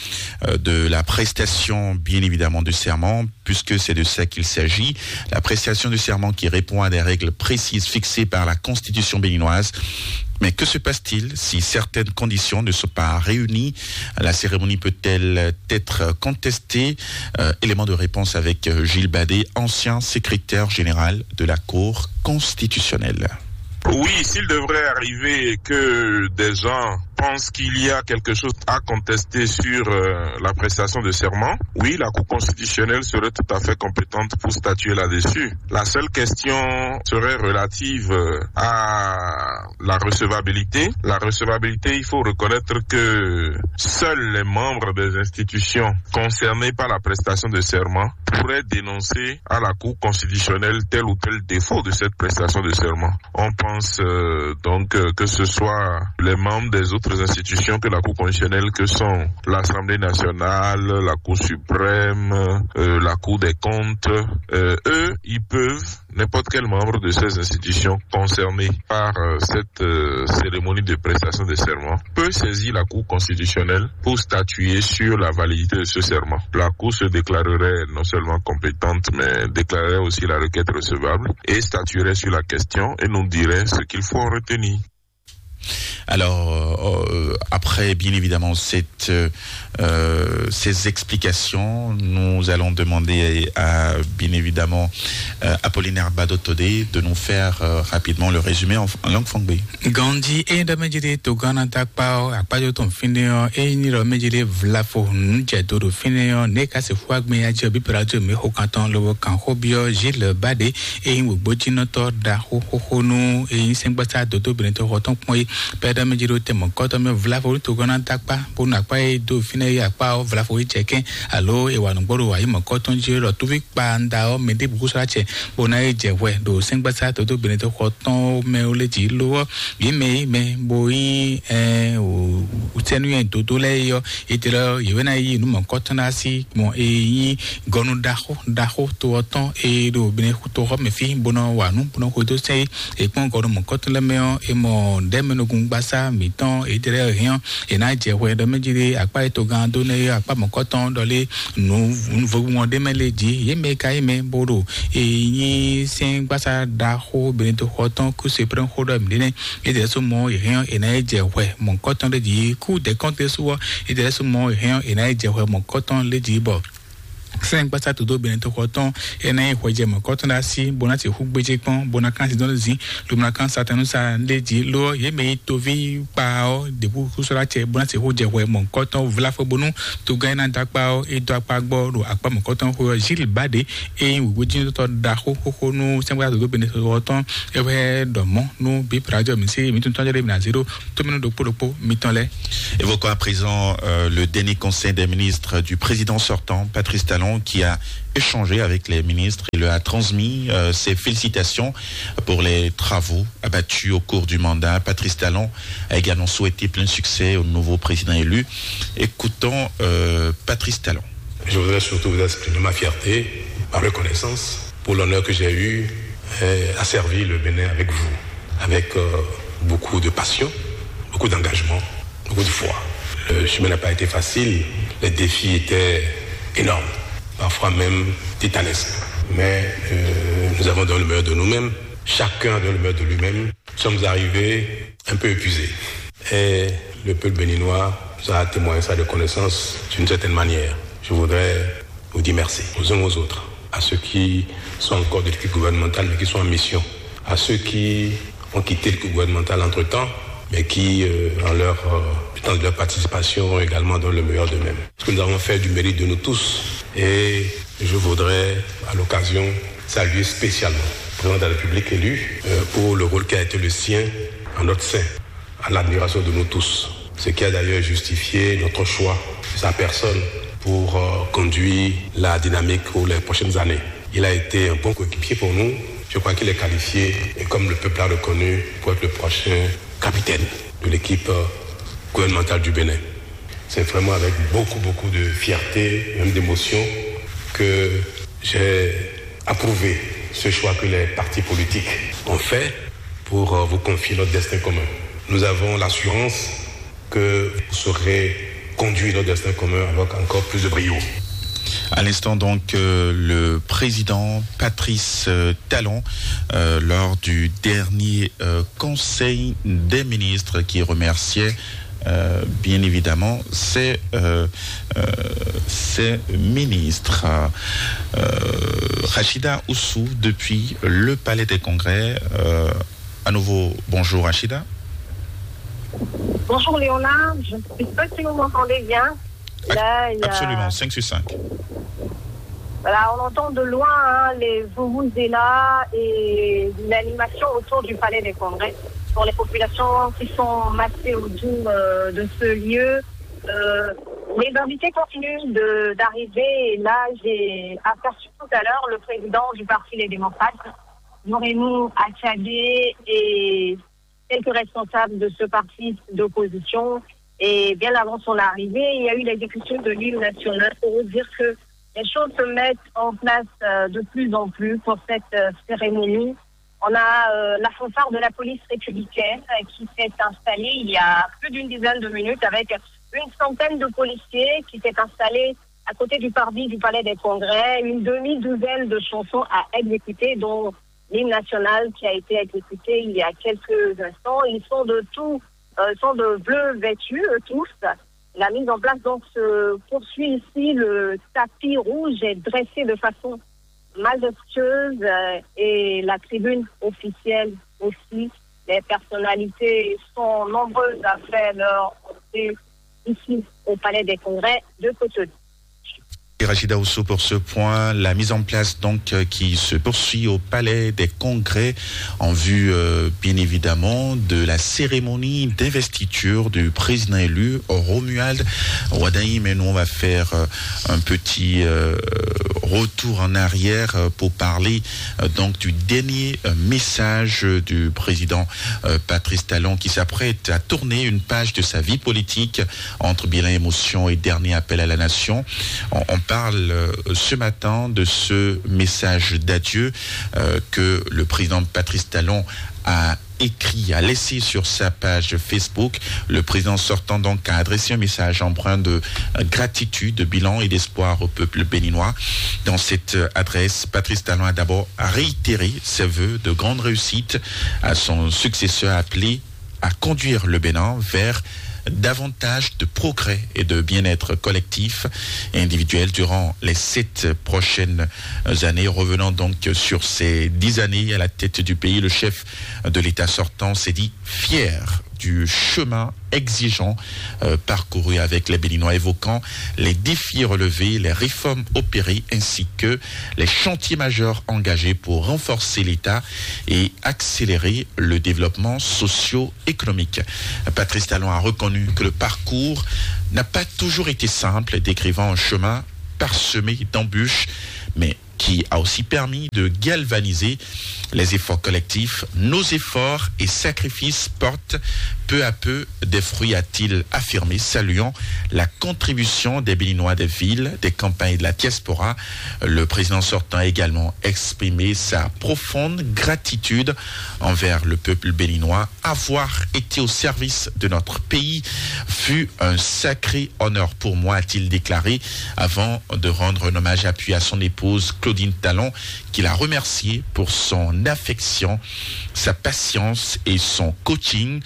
euh, de la prestation, bien évidemment, de serment, puisque c'est de ça qu'il s'agit. La prestation de serment qui répond à des règles précises fixées par la Constitution béninoise. Mais que se passe-t-il si certaines conditions ne sont pas réunies ? La cérémonie peut-elle être contestée ? Euh, élément de réponse avec euh, Gilles Badet, ancien secrétaire général de la Cour constitutionnelle. Oui, s'il devrait arriver que des gens pensent qu'il y a quelque chose à contester sur euh, la prestation de serment, oui, la Cour constitutionnelle serait tout à fait compétente pour statuer là-dessus. La seule question serait relative euh, à la recevabilité. La recevabilité, il faut reconnaître que seuls les membres des institutions concernées par la prestation de serment pourraient dénoncer à la Cour constitutionnelle tel ou tel défaut de cette prestation de serment. On pense euh, donc euh, que ce soit les membres des autres institutions que la Cour constitutionnelle, que sont l'Assemblée nationale, la Cour suprême, euh, la Cour des comptes, euh, eux, ils peuvent, n'importe quel membre de ces institutions concernées par euh, cette euh, cérémonie de prestation de serment peut saisir la Cour constitutionnelle pour statuer sur la validité de ce serment. La Cour se déclarerait non seulement compétente, mais déclarerait aussi la requête recevable et statuerait sur la question et nous dirait ce qu'il faut en retenir. Alors, euh, après, bien évidemment, cette, euh, euh, ces explications, nous allons demander à, bien évidemment, euh, Apollinaire Badotodé de nous faire euh, rapidement le résumé en, en langue fangbe. Gandhi e dame jide to Ghana takpa akpajo ton fine o e ni lo mejide vlafo nujɛ do do fine o ne ka se fua gbe ya jɛ bi prato me ho kanton lo kan ho bio Gilles Bade e yin wogbo jinɔtɔ da ho ho ho nu e yin sɛngbasa dodo benetɔ ho tɔn kpɔn yi pɛdɔ mejide tɛmɔ kɔtɔ me vlafo to Ghana takpa bonu akpa e do fine yi akpa o vlafo yi cɛkɛ alo e wa nugbɔ do wa yi mɔ kɔtɔn ji lɔ tuvi kpa nda o mɛ de buku sra cɛ bona yi jɛ hwɛ do sɛngbasa dodo benetɔ ho tɔn mɛ o le ji lo o yi mɛ yi mɛ bo yi ɛ o sɛnu yɛ dodo lɛ yi yɔ ete lɛ yewena yi nu mɔ kɔtɔn na si gbɔn e yi gɔnu daxo daxo to ɔtɔn e do bene to xɔ mɛ fi bona wa nu bona xo do sɛ yi ekpɔn gɔnu mɔ kɔtɔn lɛ mɛ ɔ e mɔ dɛmɛ nukúngbasá mǐtɔn, é jlɛ́ hɛn ɔ́, è nǎ jɛ hwɛ ɖɔ mɛ jí ɖé akpá e togán dó nɛ́ é akpá mɔ̌kɔtɔn ɖɔ lé nǔ vogbumɔ ɖé mɛ lé jí. Yě mɛ ka yí mɛ bó ɖo e nyí sɛ́ngbasá ɖaxó Benedikto xɔ tɔn kú se prɛ́n xó ɖɔ mǐɖé nɛ́. É jlɛ́ sú mɔ yě hɛn ɔ́, è nǎ yi jɛ hwɛ mɔ̌kɔtɔn ɖé jí kú dɛ̌kɔ́ntɛ sú ɔ́, é jlɛ́ sú mɔ yě hɛn ɔ́, è nǎ yi jɛ hwɛ mɔ̌kɔtɔn lé jí bɔ sɛ́ngbasá todó Benedikto xɔ tɔn é ná nyí hwɛjɛ mɔ̌kɔtɔn ɖo así bó ná sixú gbéjé kpɔ́n bó ná kán sin dɔn zǐn lomlakán Satanúsa ɖé jí. Lo ɔ́, yě mɛ yi toví kpa ɔ́ ɖěbǔ kúsɔ́ ɖó acɛ bó ná sixú jɛ hwɛ mɔ̌kɔtɔn vlá fó bónú togán e ná dó akpá ɔ́ é dó akpá gbɔ ɖo akpá mɔ̌kɔtɔn xwe ɔ́. Gilles Bade é nyí wěwéjínútɔ́ ɖaxó xóxó nú sɛ́ngbasá todó Benedikto xɔ tɔn é wɛ ɖɔ mɔ̌ nú bí prajɔ mǐ sí mǐ tún tɔ́n jɛ ɖé mǐ ná zé ɖó tómɛnú ɖokpó ɖokpó mitɔn lɛ́ɛ. Évoquons à présent euh, le dernier conseil des ministres du président sortant, Patrice Talon, qui a échangé avec les ministres et leur a transmis euh, ses félicitations pour les travaux abattus au cours du mandat. Patrice Talon a également souhaité plein succès au nouveau président élu. Écoutons euh, Patrice Talon. Je voudrais surtout vous exprimer ma fierté, ma reconnaissance pour l'honneur que j'ai eu euh, à servir le Bénin avec vous, avec euh, beaucoup de passion, beaucoup d'engagement, beaucoup de foi. Le chemin n'a pas été facile, les défis étaient énormes, parfois même titanesques. Mais euh, nous avons donné le meilleur de nous-mêmes, chacun a donné le meilleur de lui-même. Nous sommes arrivés un peu épuisés. Et le peuple béninois nous a témoigné sa reconnaissance d'une certaine manière. Je voudrais vous dire merci aux uns aux autres, à ceux qui sont encore de l'équipe gouvernementale mais qui sont en mission, à ceux qui ont quitté l'équipe gouvernementale entre-temps, mais qui, euh, en leur, euh, dans leur participation, ont également donné le meilleur d'eux-mêmes. Ce que nous avons fait du mérite de nous tous. Et je voudrais, à l'occasion, saluer spécialement le président de la République élu euh, pour le rôle qui a été le sien en notre sein, à l'admiration de nous tous. Ce qui a d'ailleurs justifié notre choix de sa personne pour euh, conduire la dynamique pour les prochaines années. Il a été un bon coéquipier pour nous. Je crois qu'il est qualifié et comme le peuple l'a reconnu pour être le prochain capitaine de l'équipe euh, gouvernementale du Bénin. C'est vraiment avec beaucoup, beaucoup de fierté, même d'émotion, que j'ai approuvé ce choix que les partis politiques ont fait pour euh, vous confier notre destin commun. Nous avons l'assurance que vous saurez conduire notre destin commun avec encore plus de brio. À l'instant, donc, euh, le président Patrice euh, Talon, euh, lors du dernier euh, conseil des ministres, qui remerciait euh, bien évidemment ses, euh, euh, ses ministres. Euh, Rachida Oussou, depuis le Palais des Congrès. Euh, à nouveau, bonjour Rachida. Bonjour Léonard, je ne sais pas si vous m'entendez bien. Là, il y a- Absolument, cinq sur cinq. Voilà, on entend de loin hein, les vuvuzela et l'animation autour du palais des congrès. Pour les populations qui sont massées autour euh, de ce lieu, euh, les invités continuent de- d'arriver. Et là, j'ai aperçu tout à l'heure le président du Parti Les Démocrates, Norénou Achadé, et quelques responsables de ce parti d'opposition. Et bien avant son arrivée, il y a eu l'exécution de l'hymne national pour dire que les choses se mettent en place euh, de plus en plus pour cette euh, cérémonie. On a euh, la fanfare de la police républicaine euh, qui s'est installée il y a plus d'une dizaine de minutes avec une centaine de policiers qui s'est installée à côté du parvis du Palais des Congrès, une demi-douzaine de chansons à exécuter, dont l'hymne national qui a été exécuté il y a quelques instants. Ils sont de tout, euh, sont de bleu vêtus, eux tous. La mise en place donc se poursuit ici. Le tapis rouge est dressé de façon majestueuse euh, et la tribune officielle aussi. Les personnalités sont nombreuses à faire leur entrée ici au Palais des Congrès de Cotonou. Rachida Oussou pour ce point, la mise en place donc euh, qui se poursuit au Palais des Congrès en vue euh, bien évidemment de la cérémonie d'investiture du président élu Romuald Wadagni. Mais nous on va faire euh, un petit euh, retour en arrière euh, pour parler euh, donc du dernier euh, message du président euh, Patrice Talon qui s'apprête à tourner une page de sa vie politique entre bilan émotion et dernier appel à la nation. On, on parle euh, ce matin de ce message d'adieu euh, que le président Patrice Talon a écrit, a laissé sur sa page Facebook. Le président sortant donc a adressé un message empreint de gratitude, de bilan et d'espoir au peuple béninois. Dans cette adresse, Patrice Talon a d'abord réitéré ses vœux de grande réussite à son successeur, appelé à conduire le Bénin vers davantage de progrès et de bien-être collectif et individuel durant les sept prochaines années. Revenant donc sur ces dix années à la tête du pays, le chef de l'État sortant s'est dit fier du chemin exigeant euh, parcouru avec les Béninois, évoquant les défis relevés, les réformes opérées ainsi que les chantiers majeurs engagés pour renforcer l'État et accélérer le développement socio-économique. Patrice Talon a reconnu que le parcours n'a pas toujours été simple, décrivant un chemin parsemé d'embûches, mais qui a aussi permis de galvaniser les efforts collectifs. Nos efforts et sacrifices portent peu à peu des fruits, a-t-il affirmé, saluant la contribution des Béninois des villes, des campagnes et de la diaspora. Le président sortant a également exprimé sa profonde gratitude envers le peuple béninois. Avoir été au service de notre pays fut un sacré honneur pour moi, a-t-il déclaré, avant de rendre un hommage appuyé à son épouse Claudine Talon, qu'il a remerciée pour son affection, sa patience et son coaching.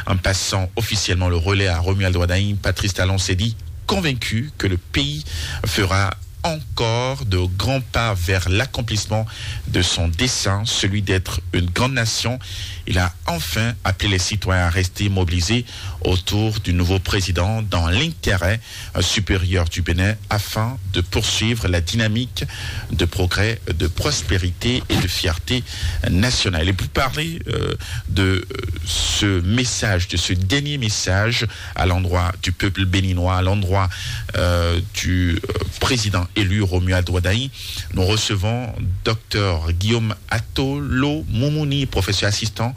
En passant officiellement le relais à Romuald Wadagni, Patrice Talon s'est dit convaincu que le pays fera encore de grands pas vers l'accomplissement de son dessein, celui d'être une grande nation. Il a enfin appelé les citoyens à rester mobilisés autour du nouveau président dans l'intérêt euh, supérieur du Bénin afin de poursuivre la dynamique de progrès, de prospérité et de fierté nationale. Et pour parler euh, de euh, ce message, de ce dernier message à l'endroit du peuple béninois, à l'endroit euh, du euh, président élu Romuald Wadagni, nous recevons docteur Guillaume Atolo Moumouni, professeur assistant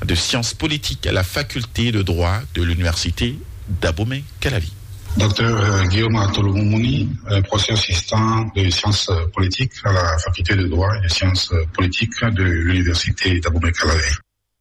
de sciences politiques à la faculté de droit de l'université d'Abomey-Calavi. Docteur euh, Guillaume Atolo Moumouni, euh, professeur assistant de sciences euh, politiques à la faculté de droit et de sciences euh, politiques de l'université d'Abomey-Calavi.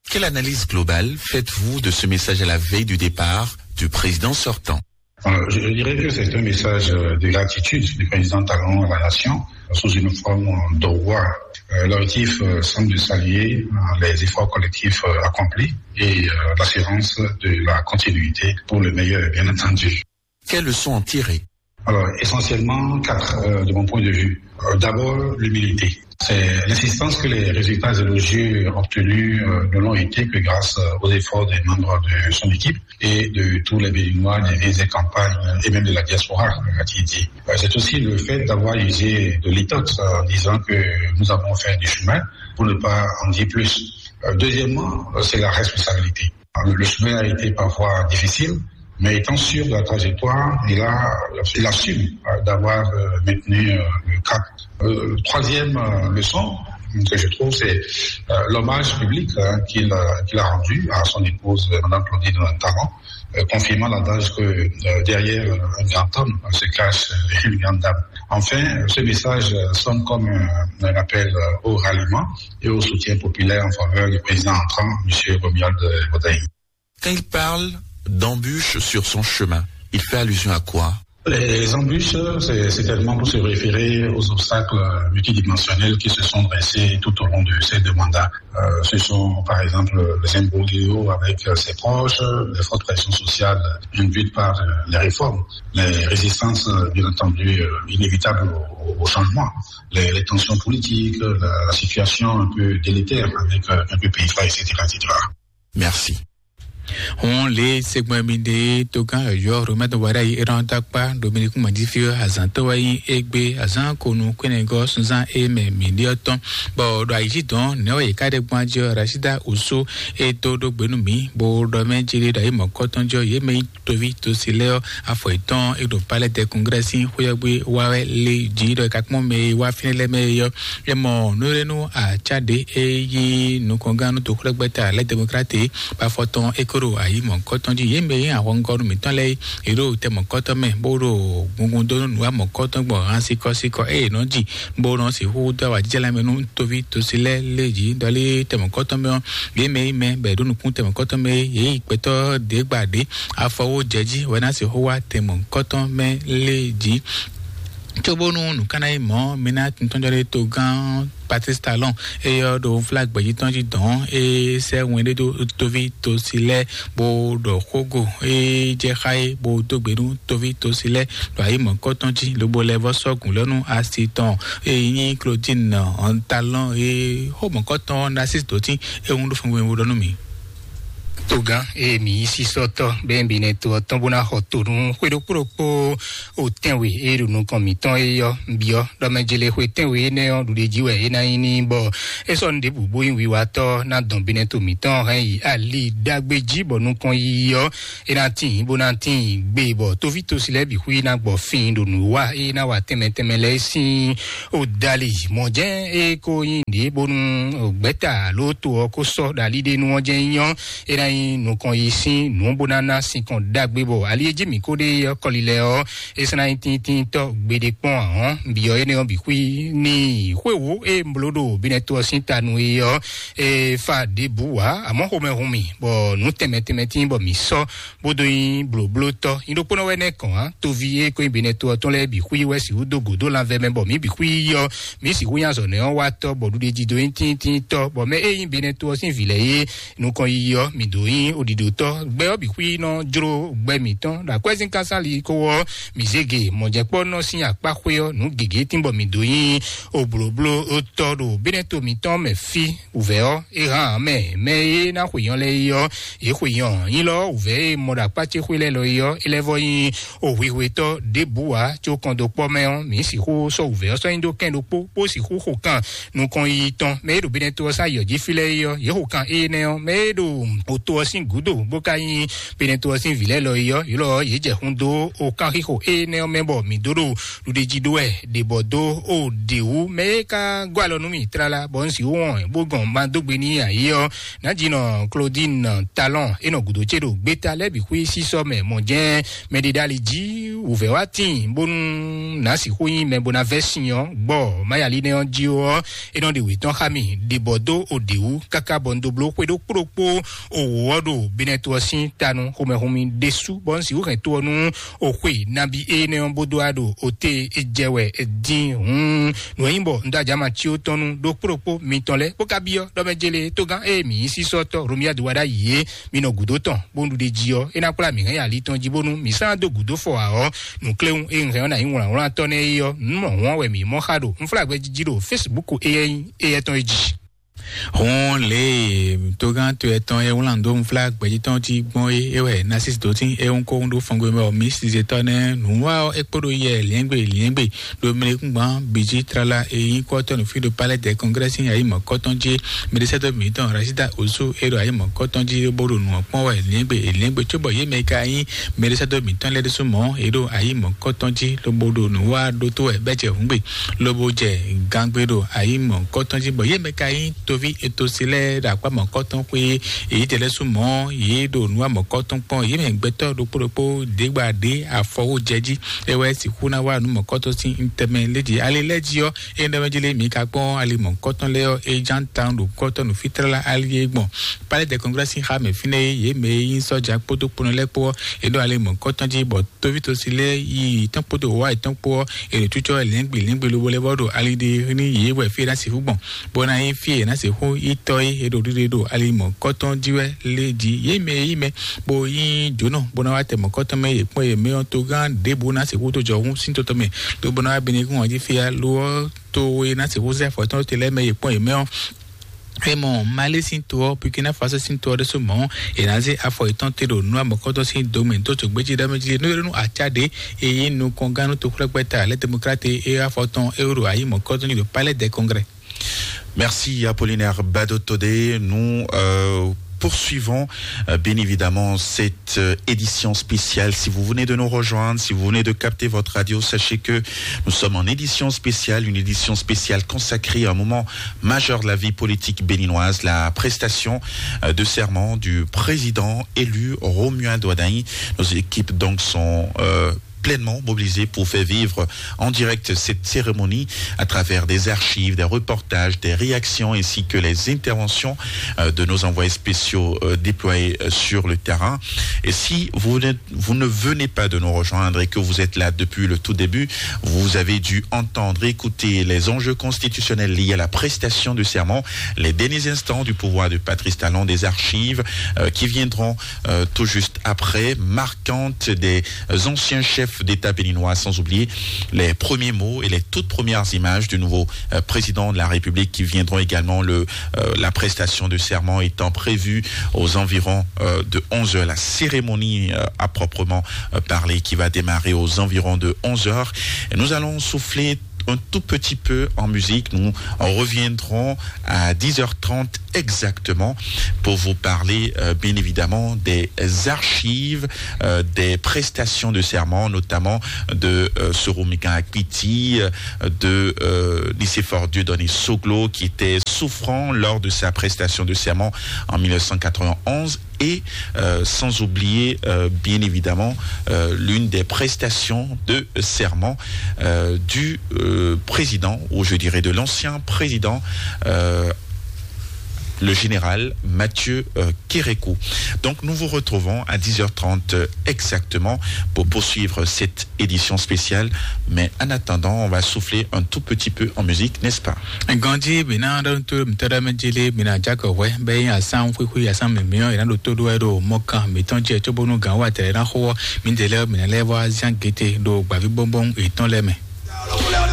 Quelle analyse globale faites-vous de ce message à la veille du départ du président sortant ? Alors, je, je dirais que c'est un message euh, de gratitude du président Talon à la nation sous une forme d'au revoir. Euh, L'objectif euh, semble de saluer euh, les efforts collectifs euh, accomplis et euh, l'assurance de la continuité pour le meilleur, bien entendu. Quelles leçons en tirer ? Alors, essentiellement quatre, euh, de mon point de vue. Euh, D'abord, l'humilité. C'est l'insistance que les résultats élogieux obtenus euh, ne l'ont été que grâce euh, aux efforts des membres de son équipe et de tous les Béninois, des villes et campagnes euh, et même de la diaspora, euh, a-t-il dit. Euh, C'est aussi le fait d'avoir usé de litote euh, en disant que nous avons fait du chemin pour ne pas en dire plus. Euh, Deuxièmement, euh, c'est la responsabilité. Le chemin a été parfois difficile, mais étant sûr de la trajectoire, il a, il assume euh, d'avoir euh, maintenu euh, le cap. Euh, troisième euh, leçon que je trouve, c'est euh, l'hommage public hein, qu'il euh, qu'il a rendu à son épouse, euh, Madame Claudine Talon, euh, confirmant l'adage que euh, derrière euh, un grand homme euh, se cache euh, une grande dame. Enfin, euh, ce message euh, sonne comme un, un appel euh, au ralliement et au soutien populaire en faveur du président entrant, Monsieur Romuald Wadagni. Quand il parle d'embûches sur son chemin, il fait allusion à quoi ? Les embûches, c'est c'est tellement pour se référer aux obstacles multidimensionnels qui se sont dressés tout au long de ces deux mandats. Euh, ce sont, par exemple, les imbroglios avec euh, ses proches, les fortes pressions sociales induites par euh, les réformes, les résistances, euh, bien entendu, euh, inévitables au, au changement, les, les tensions politiques, la, la situation un peu délétère avec euh, quelques pays frères, et cetera, et cetera. Merci. Hɔn le segbɔn mi ɖe togán yɔyɔ romɛtɔ wada yi eran takpa Dominique Madifi azan to wa yi egbe azan konu kwene gɔ sunzan e mɛ mi ɖe tɔn bɔ ɖo ayi dɔn ne wa yi ka ɖe gbɔn adi Rashida Oso e to ɖo gbenu mi bo ɖɔ mɛ ji ɖe ɖo ayi mɔkɔtɔn jɔ ye mɛ yi tovi to si lɛ afɔ etɔn e ɖo palais de congrès sin xweyɔgbe wa wɛ le ji ɖɔ kakpɔn mɛ yi wa finɛ lɛ mɛ yɔ e mɔ nurenu atsa ɖe e yi nukɔnganu to xwlɛgbɛta lɛ démocrate ba fɔtɔn e ko ɖo ayi mɔ̌kɔtɔn jí. Yě mɛ e nyí ahɔngɔ́nú mǐtɔn lɛ́ɛ é, yě ɖo tɛ mɔ̌kɔtɔn mɛ, bó ɖo gungun dó nú nǔ wa mɔ̌kɔtɔn gbɔn han sikɔsikɔ eye nɔ ji, bó nɔ sixú dó awǎjijɛ lɛ́ɛ mɛ nú tóví tosi lɛ́ɛ lé jí. Ɖɔlí tɛ mɔ̌kɔtɔn mɛ ɔ́, yě mɛ e nyí mɛ bɔ è ɖó nukún tɛ mɔ̌kɔtɔn mɛ é, yě yi gbɛtɔ́ ɖě gba ɖě afɔwó jɛ jí wɛ ná sixú wá tɛ mɔ̌kɔtɔn mɛ lé jí. Cóbónú nǔkanná yi mɔ̌, mi ná tintɔ́njɔ́ ɖé togán Patrice Talon, eyɔ ɖo flag gbɛ̌jitɔ́ jí dɔn, e sɛ wɛn ɖé dó toví tosi lɛ́, bó ɖɔ xógo e jɛ xá é, bó dó gbe nú toví tosi lɛ́ ɖo ayi mɔ̌kɔtɔn jí, lobo lɛ vɔ sɔ́ gǔn lɛ́ nú asi tɔn e nyí Claudine Talon e xó mɔ̌kɔtɔn Narcisse Dotin e hun ɖó fún wɛn ɖɔ nú mi. Togán e mǐ yí sísɔ́tɔ́ bɛ́ bǐ nɛ to ɔ́ tɔn bó ná xɔ to nú xwé ɖokpó ɖokpó o tɛ́nwe e ɖo nukɔn mǐtɔn é ɔ́, byɔ́ ɖɔ mɛ jele xwe tɛ́nwe énɛ́ ɔ́ ɖuɖe jí wɛ é ná nyí n'i, bɔ é sɔ́ nǔ ɖěbǔ bó nyí wiwatɔ́ ná dɔn bínɛ́ to mǐtɔn hɛn yi ali ɖagbe jí, bɔ nukɔn yiyi ɔ́ é ná tíin bó ná tíin gbe, bɔ tóví tosi lɛ́ɛ bǐ xwí ná gbɔ fin ɖo nǔ wa é ná wa tɛnmɛ tɛnmɛ lɛ́ɛ sín o dali. Mɔ̌ jɛ́n é ko nyí ɖě bónú gbɛ̌ta alo to ɔ́ ko sɔ́ ɖo ali ɖé nu ɔ́ jɛ́n nyí ɔ́, é ná nyí nukɔn yi sín nǔ bó ná ná sinkɔn ɖagbe, bɔ ali e jí mǐ ko ɖe ɔ́ kɔli lɛ́ɛ ɔ́, é sɔ́ ná nyí tíntíntɔ́ gbeɖé kpɔ́n ǎ ɔ́, byɔ́ énɛ́ ɔ́ bǐ xwí n'i. Xwéwǒ e un bló ɖo bínɛ́ to ɔ́ sín ta nu é ɔ́, é fa ɖěbǔ ǎ, amɔ̌ xomɛ hun mì, bɔ nǔ tɛnmɛ tɛnmɛ tíin bɔ mǐ sɔ́ bó dó nyí blǒblótɔ́. Nyí ɖokpónɔ wɛ nɛ́ kɔn ǎ, toví e ko nyí bínɛ́ to ɔ́ tɔn lɛ́ɛ bǐ xwí wɛ sixú dó gǒ dó lanvɛ mɛ, bɔ mǐ bǐ xwí yi ɔ́, mǐ sixú nyí azɔ̌nɛ́ ɔ́ wa tɔ́, bɔ ɖuɖe jí dó nyí tíntíntɔ́, bɔ mɛ e nyí bínɛ́ to ɔ́ sín vǐ lɛ́ɛ é nukɔn yiyi ɔ́, mǐ dǒ nyí oɖiɖotɔ́. Gbɛ ɔ́ bǐ xwí nɔ jló gbɛ mǐtɔn ɖo akwɛ́zínkásánli kó ɔ́, mǐ zé ge mɔ̌jɛkpɔ́nɔ sín akpá xwé ɔ́, nǔ gěgé tín bɔ mǐ dó nyí oblǒblótɔ́ ɖo bínɛ́ to mǐtɔn mɛ fí. Wǔvɛ́ ɔ́, é hán mɛ mɛ e ná xweyɔ́n lɛ́ɛ é ɔ́, yě xweyɔ́n. Nyí lɔ wǔvɛ́ e mɔ ɖo akpá ce xwé lɛ́ɛ lɔ é ɔ́, é lɛ́ vɔ nyí o hwihwetɔ́ ɖěbǔ ǎ, có kɔn dó kpɔ́ mɛ ɔ́, mǐ sixú sɔ́ wǔvɛ́ ɔ́ sɔ́ nyi dó kɛn ɖokpó, bó sixú xo kan nukɔn yiyi tɔn. Mɛ e ɖo Benɛto ɔ́ sín ayǐ ɔ́ jí fí lɛ́ɛ é ɔ́, yě xo kan énɛ́ ɔ́, mɛ e ɖo oto ɔ́ sín gǔdo bó ka nyí Benɛto ɔ́ sín vǐ lɛ́ɛ lɔ é ɔ́, yě lɔ yě jɛ hun dó o kanxixo énɛ́ ɔ́ mɛ, bɔ mǐ dó ɖo ɖuɖéjí ɖó wɛ ɖě bɔ dó o ɖě wú. Mɛ e ka gɔ́ alɔ nú mì tlala, bɔ un sixú wɔn bó gɔn ma dó gbe n'i ǎ é ɔ́, Nǎjínɔ Claudine Talon e nɔ gǔdo ce ɖo gbeta lɛ́ɛ bǐ xwí sísɔ́ mɛ mɔ̌ jɛ́n mɛɖiɖali jí wǔvɛ́ wá tíin, bónú nǎ sixú nyí mɛ bó ná vɛ́ sin ɔ́, gbɔ mayalínɛ ɔ́ jí ɔ́, é nɔ ɖe wětɔn xá mì ɖibɔ dó o ɖě wú, káká bɔ un dó bló xwé ɖokpó ɖokpó o wǒ ɔ́ ɖo Benɛto ɔ́ sín ta nú xomɛhunmi ɖésú, bɔ un sixú hɛn to ɔ́ nú o xwe nabí énɛ́ ɔ́ bó dó wá ɖo o té é jɛ wɛ dín hǔn. Nǔ e nyí bɔ un dó ajǎ ma cí ó tɔn nú ɖokpó ɖokpó mitɔn lɛ́ɛ, bó ka byɔ́ ɖɔ mɛ jélé tógán e mǐ nyí sísɔ́tɔ́ Romiyadu wá ɖ'ayǐ é, mi nɔ gǔdo tɔn, bónú ɖuɖe jí ɔ́, é ná kplá mǐ hɛn nyi ali tɔn jí, bónú mǐ sán dó gǔdo fɔ ǎ ɔ́, nǔkléwún e un hɛn ɔ́ ná nyí wlǎnwlán tɔ́ nɛ́ é ɔ́, nǔ mɔ hǔn ɔ́ wɛ mǐ mɔ xá ɖo unflágbɛ́ jí jí ɖo Facebook e nyí éyɛ́ tɔn é jí. Hɔn lě e togán to etɔn e wlán dó nflá gbɛjitɔn jí gbɔn é, é wɛ Narcisse Dotin é ń kó ń ɖó fɔngbe mɛ ɔ, mí sizetɔ nɛ nǔwa ɔ é kpóɖo yɛ liɛngbe liɛngbe ɖo mlekúngban bìjí tlala e nyí kɔtɔnu fí ɖo palais de congrès sín ayǐ mɔ̌kɔtɔn jí. Mɛɖisɛtɔ mǐtɔn Rachida Osu é ɖo ayǐ mɔ̌kɔtɔn jí bó ɖo nǔ ɔ kpɔ́n wɛ liɛngbe liɛngbe cóbɔ yě mɛ ka nyí mɛɖisɛtɔ mǐtɔn lɛ́ɛ ɖésú mɔ̌ é ɖo ayǐ mɔ̌kɔtɔn jí lobo ɖo nǔwa ɖótó wɛ bɛ́ jɛ hǔngbe lobo jɛ gangbe ɖo ayǐ mɔ̌kɔtɔn jí, bɔ yě mɛ ka nyí toví etosi lɛ́ɛ ɖo akpá mɔ̌kɔtɔn xwé èyí tɛ lɛ́ɛ sú mɔ̌ yě ɖo nǔ wa mɔ̌kɔtɔn kpɔn. Yě mɛ gbɛtɔ́ ɖokpó ɖokpó ɖěgba ɖě afɔ wó jɛ jí, é wɛ sixú ná wá nǔ mɔ̌kɔtɔn sín tɛmɛ lé jí. Ali lɛ́ɛ jí ɔ́, é ɖɔ mɛ jí lé mǐ ka kpɔ́n ali mɔ̌kɔtɔn lɛ́ɛ ɔ́, é ján tawun ɖo kɔ́tɔn nǔfítlá ali é gbɔn. Palais de congrès sín xá mɛ fínɛ́ é, yě mɛ e nyí sɔ́ja kpódó kponɔ lɛ́ɛ kpó ɔ́, é ɖo ali mɔ̌kɔtɔn jí bɔ tóvítosi lɛ́ɛ yi tɔn kpódó wá yětɔn kpó ɔ́, è ɖo cucɔ lɛ̌ngbǐ lɛ̌ngbǐ lobo lɛ́ vɔ ɖo ali ɖe ní yě wɛ fí é ná sixú gbɔn, bó ná nyí fí e è nǎ sixú yi tɔ́ é, è ɖo ɖiɖe ɖo ali mɔ̌kɔtɔn jí wɛ lé jí. Yě mɛ e yí mɛ bó nyí jǒnɔ bó ná wá tɛ mɔ̌kɔtɔn mɛ yě kpɔ́n yě mɛ ɔ́, togán ɖěbǔ ná sixú dó jɔ hú sín tɔtɔ mɛ, lobo ná wá bɛ́ ní kún ɔ́ jí fí ya lo ɔ́, to e ná sixú zɛ afɔ tɔn te lɛ́ɛ mɛ yě kpɔ́n yě mɛ ɔ́. É mɔ Mali sín to ɔ́, Burkina Faso sín to ɔ́ ɖésú mɔ̌, è nǎ zé afɔ yětɔn te ɖo nǔ amɔ̌kɔ́tɔ́ sín do mɛ dó tso gbéjí ɖɔ mɛ jí nú nú aca ɖě e nyí nukɔngán nú toxwlɛ́gbɛ́ta lɛ́ demokrate é afɔ tɔn é ɖo ayǐ mɔ̌kɔ́tɔn jí ɖo Palais des Congrès. Merci Apollinaire Badotode. Nous euh, poursuivons euh, bien évidemment cette euh, édition spéciale. Si vous venez de nous rejoindre, si vous venez de capter votre radio, sachez que nous sommes en édition spéciale, une édition spéciale consacrée à un moment majeur de la vie politique béninoise, la prestation euh, de serment du président élu Romuald Wadagni. Nos équipes donc sont euh, pleinement mobilisées pour faire vivre en direct cette cérémonie à travers des archives, des reportages, des réactions ainsi que les interventions euh, de nos envoyés spéciaux euh, déployés euh, sur le terrain. Et si vous ne, vous ne venez pas de nous rejoindre et que vous êtes là depuis le tout début, vous avez dû entendre, écouter les enjeux constitutionnels liés à la prestation de serment, les derniers instants du pouvoir de Patrice Talon, des archives euh, qui viendront euh, tout juste après, marquantes des anciens chefs d'État béninois, sans oublier les premiers mots et les toutes premières images du nouveau euh, président de la République qui viendront également, le, euh, la prestation de serment étant prévue aux environs euh, de onze heures, la cérémonie euh, à proprement euh, parler qui va démarrer aux environs de onze heures. Et nous allons souffler un tout petit peu en musique. Nous reviendrons à dix heures trente exactement pour vous parler euh, bien évidemment des archives, euh, des prestations de serment, notamment de euh, Soro Mika Akpiti, euh, de euh, Nicéphore Dieudonné Soglo, qui était souffrant lors de sa prestation de serment en mille neuf cent quatre-vingt-onze et euh, sans oublier euh, bien évidemment euh, l'une des prestations de serment euh, du euh, président, ou je dirais de l'ancien président, euh, le général Mathieu euh, Kérékou. Donc nous vous retrouvons à dix heures trente exactement pour poursuivre cette édition spéciale. Mais en attendant, on va souffler un tout petit peu en musique, n'est-ce pas? Ganji bina ɖo to mtɛɖɛ mɛ jeli bina jakɔ wɛ bɛ yin asan xwixwi asan mimiɔ yina ɖo to ɖo ɛ ɖo mɔkan mitɔn jɛ tso bonu gan wa tɛlɛ na xo mi de lɛ mina lɛ vɔ azian gete ɖo gbavi bɔnbɔn etɔn lɛ mɛ.